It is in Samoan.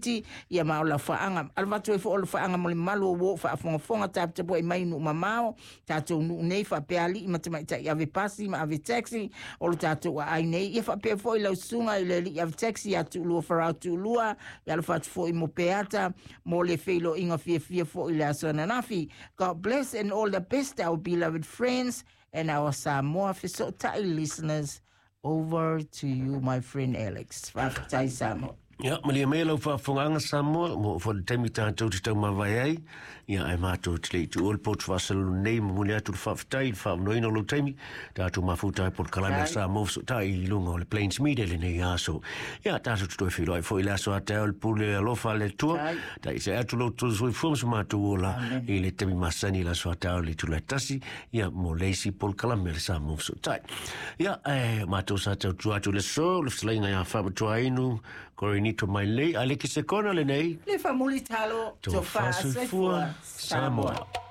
Komiti, ia ma o lau faaga. Alofa atu ai foi o le faaga mo le mamalu o ua faafogafoga taputapuai mai nuu mamao, tatou nuu nei faapea alii ma tamaitai ave pasi ma ave taxi o lo tatou aai nei. Ia faapea foi lau susuga i le alii ave taxi ia Tuulua Farao Tuulua, ia alofa atu foi mo Peata mo le feiloaiga fiafia foi i le aso ananafi. God bless and all the best, our beloved friends and our Samoa Fesootai listeners. Over to you, my friend Alex. Faafetai, Samoa. Ia, malia mai lau faafofogaaga Samoa, mo fo le taimi tatou te taumavae ai, ia ae matou te le i tuua le potu faasalalu nei, momoli atu le faafetai i le faaavanoaina o lou taimi, tatou mafuta ai polokalame a Samoa Fesootai i luga o le Plains Media i lenei aso. Ia, tatou te toe feiloai foi i le aso a taeao i le pule alofa a le Atua, taisai atu lo outou soifua ma so matou ola i le taimi masani i le aso a taeao i le itula e 1, ia mo le isi polokalame a le Samoa Fesootai. Ia, ae matou sa tautua atu i le aso, le fetalaiga ia Faamatuainu, Korinito Mailei, a le ke se kona lenei. Le faamuli talo, tofa soifua, Samoa.